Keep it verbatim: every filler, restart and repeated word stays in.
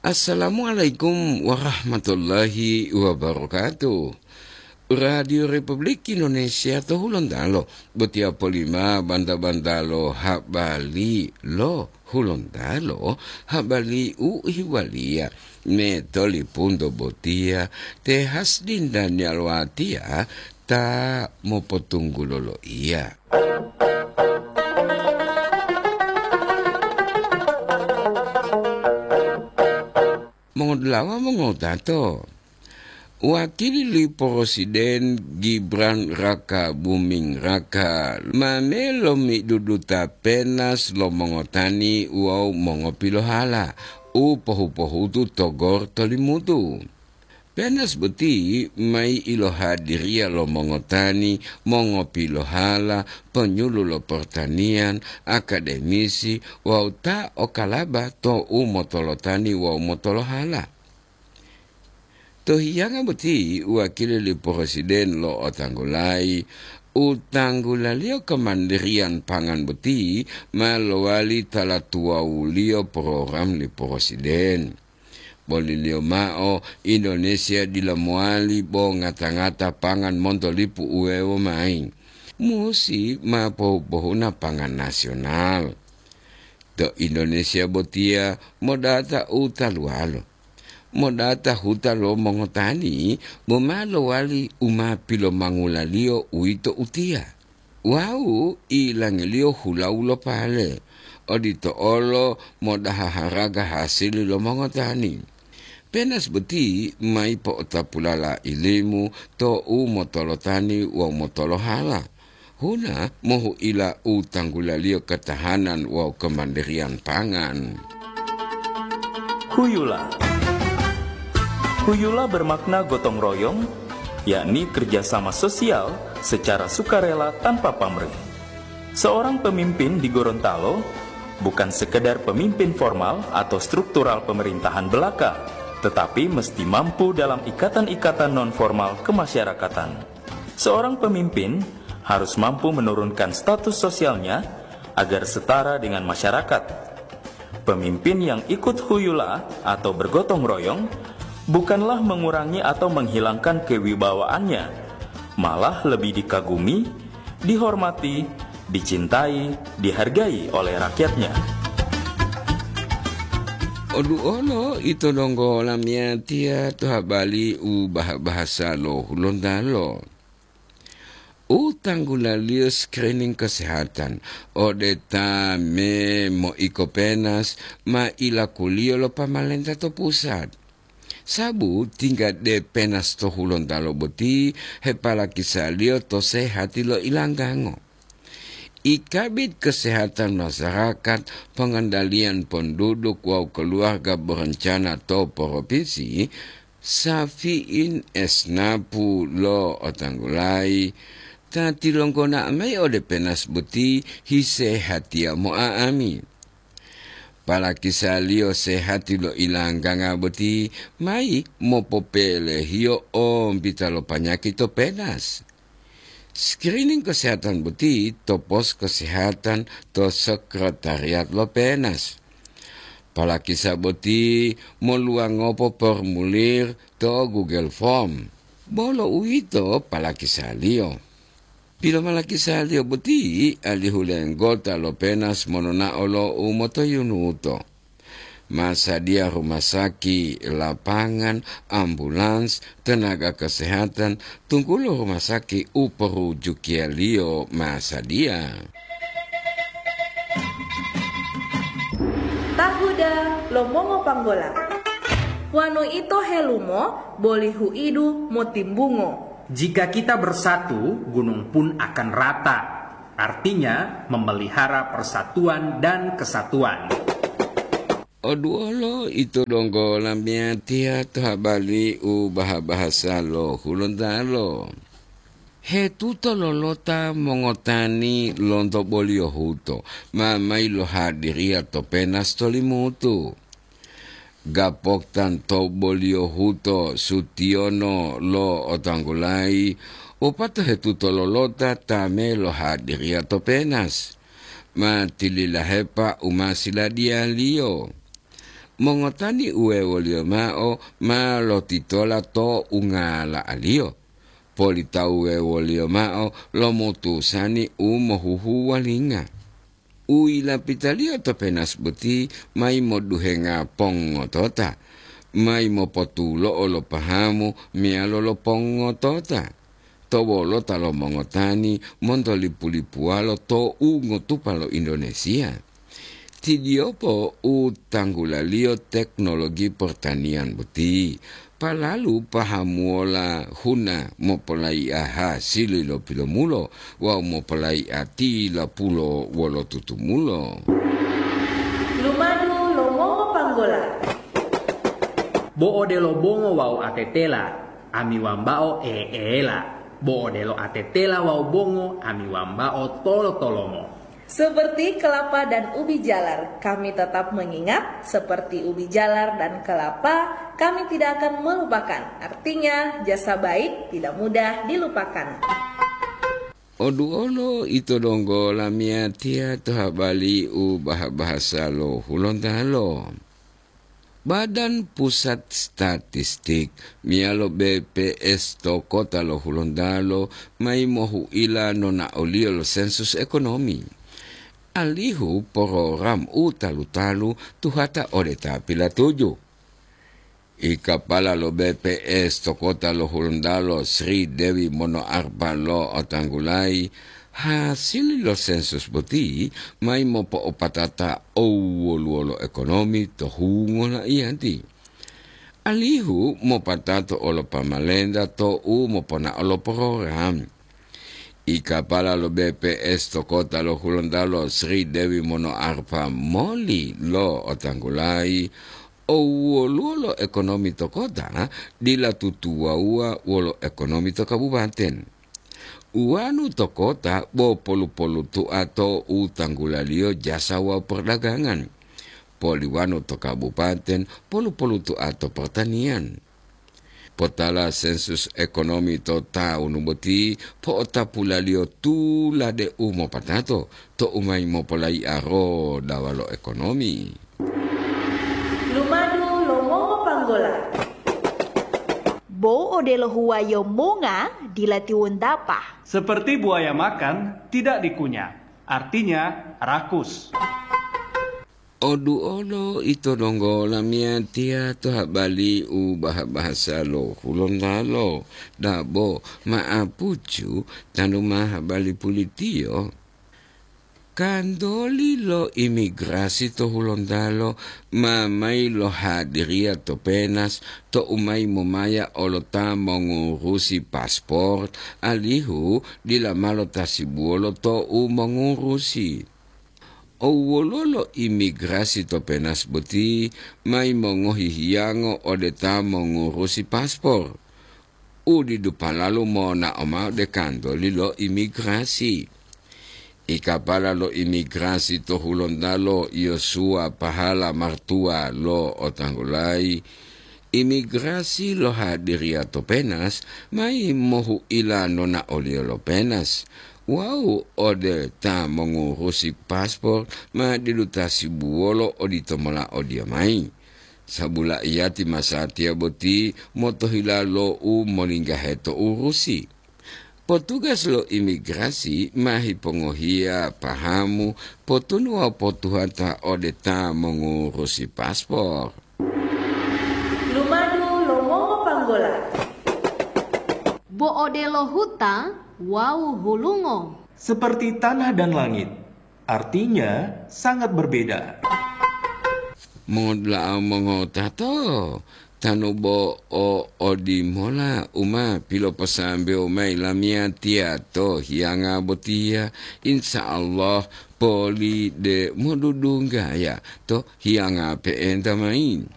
Assalamualaikum warahmatullahi wabarakatuh. Radio Republik Indonesia to Hulontalo, botiya polima banta-bantalo habari lo Hulontalo, habari u ihiwaliya me tolipunto botiya te Hasdin Daniel Watiya ta mopotunggulo loiya. Mongodulawa mongotato, wakili li Presiden Gibran Raka Buming Raka ma melo miduduta penas lo mongotani wawu mongopilohala u pohu-pohutu to Gor to Limutu. Penas boti mayi ilohadiriya lo mongotani, mongopilohala, ponyulu lo pertanian, akademisi wawu ta o kalaba to u motolotani wawu motolohala. To hiyanga boti wakili li Presiden lo'otanggulayi u tanggulaliyo kemandiriyan pangan boti ma lowali tala tuwawuliyo program li Presiden. Boliliyo mao, Indonesia dila mowali bo ngata-ngata pangan monto lipu uwewo mayi. Musi ma pohu-pohuna pangan nasional. To Indonesia botiya modata u taluwalo. Modata huta lo mongotani bo ma lowali u ma pilomangulaliyo, uwito utiya. Wawu ilangiliyo hulawu lo pale, odito olo modaha haraga hasili lo mongotani. Penas boti mayi po'otapulala ilimu to u motolotani wawu motolohala. Huna mohu'ila u tanggulaliyo ketahanan wawu kemandiriyan pangan. Huyula. Huyula bermakna gotong royong, yakni kerjasama sosial secara sukarela tanpa pamrih. Seorang pemimpin di Gorontalo bukan sekedar pemimpin formal atau struktural pemerintahan belaka, tetapi mesti mampu dalam ikatan-ikatan non-formal kemasyarakatan. Seorang pemimpin harus mampu menurunkan status sosialnya agar setara dengan masyarakat. Pemimpin yang ikut huyula atau bergotong royong bukanlah mengurangi atau menghilangkan kewibawaannya, malah lebih dikagumi, dihormati, dicintai, dihargai oleh rakyatnya. Oduolo ito donggo lamiyatiya to habari u baha-bahasa lo Hulontalo. U tanggulaliyo screening kesehatan ode ta me moiko penas ma ilakuliyo lo pamalenta to pusat. Sabu tingga de penas to Hulontalo boti hepalakisaliyo to sehati lo ilanggango. I Kabid Kesehatan Masyarakat, Pengendalian Penduduk wawu Keluarga Berencana to Provinsi, Safiin Esnapu lo'otanggulayi, ta tilonggona'o mayi ode penas boti hisehatiya mo'a'ami. Palakisaliyo sehati lo ilangganga boti mayi mopopelehiyo ombita lo panyaki to penas. Screening kesehatan boti to pos kesehatan to sekretariat lo penas. Palakisa boti moluwangopo formulir to Google Form. Bolo uwito palakisaliyo. Pilomalakisaliyo boti alihu lenggota lo penas monona'o lo u motoyunuto. Ma sadiya rumah saki, lapangan, ambulans, tenaga kesehatan, tunggulo rumah saki u porujukiyaliyo ma sadiya. Tahuda lo mongopanggola. Wonu ito helumo, boli huidu motimbungo. Jika kita bersatu, gunung pun akan rata. Artinya, memelihara persatuan dan kesatuan. Oduolo ito donggo lamiyatiya to habari u baha-bahasa lo Hulontalo. Hetuto lolota mongotani lonto boliyo huto, ma mayi lohadiriya to penas to Limutu. Gapoktan to boliyo huto sutiyono lo otanggulayi, wopata hetuto lolota ta me lohadiriya to penas. Ma tililahepa u ma siladiyaliyo. Mongotani uwewoliyo mao ma lotitola to ungala'aliyo. Politawuwewoliyo mao lo mutusani u mohuhuwalinga. U yilapitaliyo to penas boti mayi moduhenga pongotota, mayi mopotulo'o lo pahamu meyalo lo pongotota. To wolota lo mongotani monto lipu-lipuwalo to u ngotupa lo Indonesia. Tidiyopo u tanggulaliyo teknologi pertanian boti, palalu pahamuwola huna mopolai'a hasili lo pilomulo wawu mopolai'a tilapulo wolo tutumulo. Lumadu lo mongo panggola. Bo odelo bongo wawu atetela, ami wambao eela. Bo odelo atetela wawu bongo, ami wambao tolo-tolomo. Seperti kelapa dan ubi jalar, kami tetap mengingat, seperti ubi jalar dan kelapa, kami tidak akan melupakan. Artinya, jasa baik tidak mudah dilupakan. Oduolo ito donggo lamiyatiya to habali u baha-bahasa lo Hulontalo. Badan Pusat Statistik meyalo B P S to kota lo Hulontalo mayi mohu'ila nonaoliyo lo sensus ekonomi, alihu program u talu-talu tuhata ode ta pilatuju. I kapala lo B P S to kota lo Hulontalo, Sri Dewi Monoarpa, lo otanggulayi, hasili lo sensus boti mayi mopo'opatata owoluwo lo ekonomi to hungo laiyati, alihu mopatato olo pamalenta to u moponao lo program. I kapala lo B P S to kota lo Hulontalo, Sri Dewi Monoarpa, moli lo otanggulayi, owoluwo lo ekonomi to kota dila tutuwawuwa wolo ekonomi to kabupaten. Uwanu to kota bo polu-polutu'a to u tanggulaliyo jasa wawu perdagangan. Poliwanu to kabupaten polu-polutu'a to pertanian. Potala sensus ekonomi to tawunu boti po'otapulaliyo tulade u mopatato to u mayi mopolayi'a rodawa lo ekonomi. Lumadu lo mongo panggola. Bo odelo huwayo monga dila tiwontapa. Seperti buaya makan, tidak dikunyah. Artinya, rakus. Oduolo ito donggo lamiyatiya to habali u baha-bahasa lo Hulontalo, dabo ma'apucu tanu ma habali pulitiyo. Kantoli lo imigrasi to Hulontalo ma mayi lohadiriya to penas to u mayi momaya olo ta mongurusi paspor, alihu dila ma lotasibuwolo to u mongurusi. Owwoluwo lo imigrasi to penas boti mayi mongohi hiyango ode ta mongurusi paspor? U didu palalu monao mao ode kantoli lo imigrasi. I kapala lo imigrasi to Hulontalo, Yosua Pahala Martua, lo otanggulayi, imigrasi lohadiriya to penas mayi mohu'ila nonaoliyo lo penas wawu ode ta mongurusi paspor ma didu tasibuwolo odito mola odiya mayi. Sabula iyati masatiya boti motohila lo u molinggahe to urusi. Potugas lo imigrasi ma hipongohiya pahamu potunu wawu potuhata ode ta mongurusi paspor. Lumadu lo mongo panggola. Bo odelo huta wawu hulungo. Seperti tanah dan langit. Artinya, sangat berbeda. Mongodula'a mongotato, tanu bo o odimola u ma piloposambewo mayi lamiyatiya to hiyanga botiya, insya Allah poli de modudunggaya to hiyanga pe'enta mayi.